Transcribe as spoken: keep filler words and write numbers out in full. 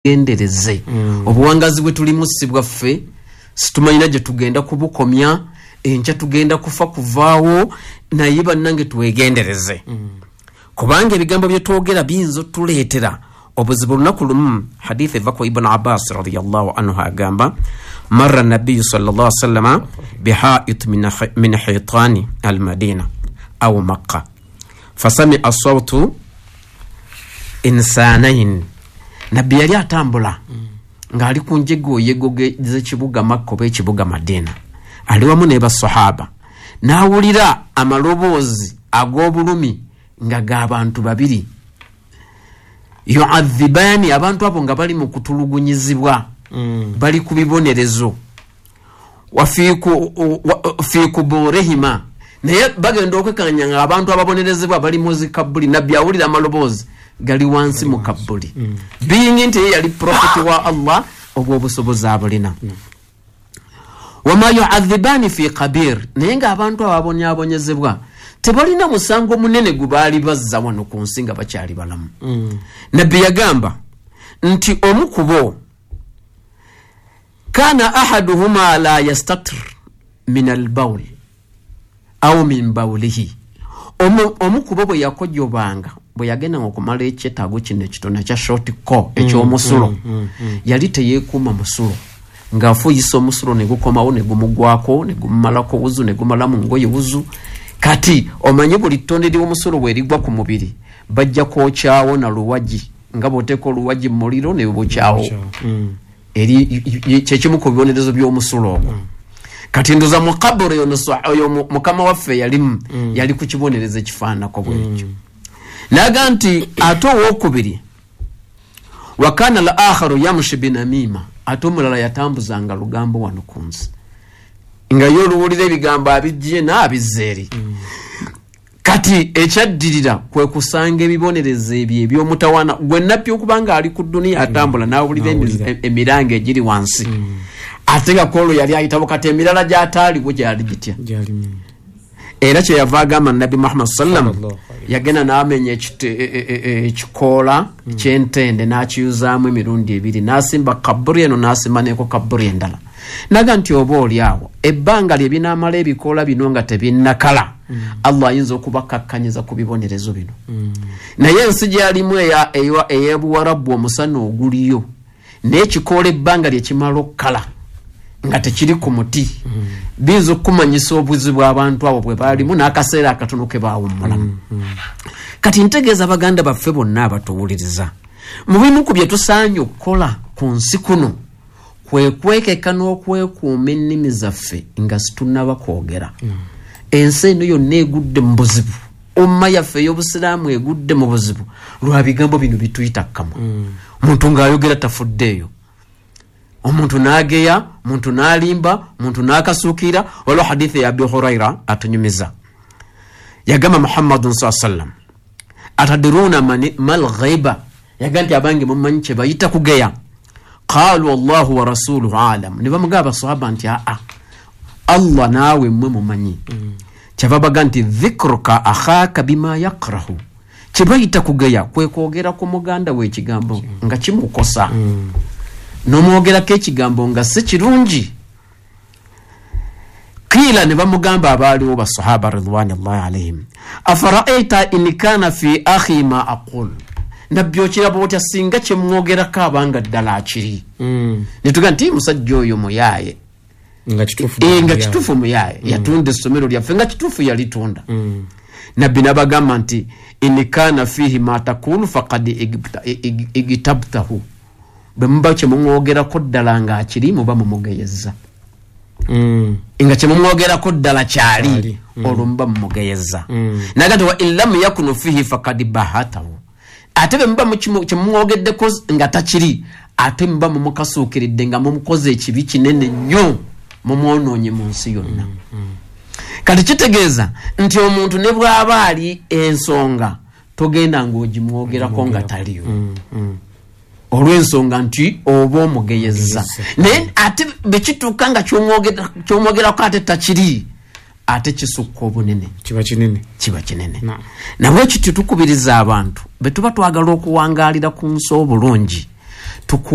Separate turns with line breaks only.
Gendereze mm. Obuwangazi bwe tulimu si bwaffe, situmanyina gye tugenda kubukomya, enkya tugenda kufa kuvaawo, naye bannange twegendereze mm. Kubanga ebigambo bye twogera biyinza otuleetera obuzibu. Olunaku lumu hadith eva ku Ibn Abbas radiyallahu anhu agamba, marra nabiyyu sallallahu alaihi wasallam bihait min hitani almadina au Makka fasami'a sawtu insanain. Nabbi yali atambula mm. ng'ali ku njegoyego z'ekibuga Makka oba ekibuga Madina, ali wamu ne basahaba, n'awulira amaloboozi ag'obulumi nga g'abantu babiri yu'adhibani, abantu abo nga bali mu kutulugunyizibwa mm. bali ku bibonerezo wa fi kuburihima, naye bagenda okwekanya nga abantu ababonerezebwa bali mu zikabuli. Nabbi awulira amaloboozi gali wansi mu kabuli mm. Being nti yali prophet wa Allah, obwo obusobozi abulina mm. Wama yu'adhibani fi qabir, naye nga abantu ababonyaabonyezebwa tebalina musango munene gwe baali bazza wano ku nsi nga bakyali balamu mm. Nabbi yagamba nti omu ku bo kana ahaduhuma la yastatir min albawl au min bawlihi, omu ku bo bwe yakojobanga, bwe yagenda okumala ekyetaago kino ekitono ekya short ko ekyomusulo mm, mm, mm, yali teyeekuuma musulo, ng'afuuyisa omusulo ne gukomawo ne gumugwako ne gumumalako wuzu ne gumala mu ngoye wuzu. Kati omanyi buli ttonde ly'omusulo bwe ligwa ku mubiri bajja kwokyawo na luwagi, nga bw'oteeka oluwagi mu muliro ne bukyawo mm. Eri kyekimu ku bibonerezo by'omusulo ogwo mm. Kati ndoza mu kaburi oyo mukama waffe yalimu mm. yali ku kibonerezo ekifaananako bwekyo mm. Naga nti ate owokubiri wakana al akharu yamshi binamima, ate omulala yatambuzanga lugambo wano ku nsi nga ye oluwulira ebigambo abijje n'abizza eri mm. Kati ekyaddirira kwe kusanga ebibonerezo ebyo eby'omutawaana gwe nabbi okubanga ali ku dduniya atambula n'awulira emiranga egiri wansi mm. Ate nga kwolwo yali ayitabo, kati emirala gy'ataaliwo gyali gitya. Era kyeyava agamba Nabbi Muhammad sallam yagenda n'amenya ekikoola ky'entende n'akiyuzaamu emirundi ebiri, n'asimba kaburi eno n'asimba neko kaburi endala. Naga nti oba oli awo ebbanga lye binaamala ebikoola bino nga tebinnakala mm. Allah ayinza okubakakkanyiza ku bibonerezo bino mm. Naye ensi gy'alimu ey'Ebuwarabu omusana oguliyo n'ekikoola ebbanga lye kimala okkala nga tekiri ku muti mm. biyinza okukumanyisa obuzibu abantu abo bwe baalimu n'akaseera akatono ke baawummulamu mm. Kati ntegeeza baganda baffe bonna abatuwuliriza, mu bimu ku bye tusaanye okukola ku nsi kuno kwe kwekeka n'okwekuuma ennimi zaffe nga situnnaba kwogera mm. Ensi eno yonna egudde mu buzibu, umma yaffe ey'obusiraamu egudde mu buzibu lwa bigambo bino bituyita kkamwa. Omuntu mm. ng'ayogera tafuddeeyo, omuntu n'ageya, omuntu n'alimba, omuntu n'akasuukira. Waliwo hadithi ya Abi Huraira atunyumiza, yagamba Muhammadun saa sallam atadiruna mal ghaiba, yagamba nti abange mumanyi kye bayita kugeya. Qalu Allahu wa rasuluhu alam, ne bamugamba basahaba nti aa Allah naawe mmwe mumanyi mm. Kyava baga nti dhikruka akhaka bima yakrahu, kye bayita kugeya kwe kwogera ku muganda we ekigambo nga kimukosa mm. n'omwogerako ekigambo nga si kirungi. Qila, ne bamugamba abaaliwo basahaba ridwanillahi alaihim, afaraaita in kana fi akhi ma aqul, nabbi okiraba otya singa kyemwogerako abanga ddala akiri mm. Netuga nti musajja oyo muyaaye
nga kituufu
e, nga kituufu muyaaye mm. yatunda essomero lyaffe nga kituufu yalitunda mm. Nabbi n'abagamba nti in kana fihi ma taqulu faqad igtabtahu, bwe muba kyemumwogerako ddala ng'akiri muba mumugeyeza mm. nga kyemumwogerako ddala kyali mm. olwo muba mumugeyeza mm. Naga nti wa in lam yakunu fihi faqad bahatahu, ate bwe muba kyemumwogeddeko nga takiri ate muba mumukasuukiridde nga mumukoze ekibi kinene nnyo, mumwonoonye mu nsi yonna mm. mm. Kati kitegeeza nti omuntu ne bw'aba ali ensonga togenda ng'ogimwogerako nga taliyo mm. mm. olw'ensonga nti oba omugeyeza, naye ate bwe kituuka nga ky'omwogerako ate takiri, ate kisukka obunene,
kiba kinene,
kiba kinene. Nabwe kityo tukubiriza abantu bwe tuba twagala okuwangaalira ku nsi obulungi Tuku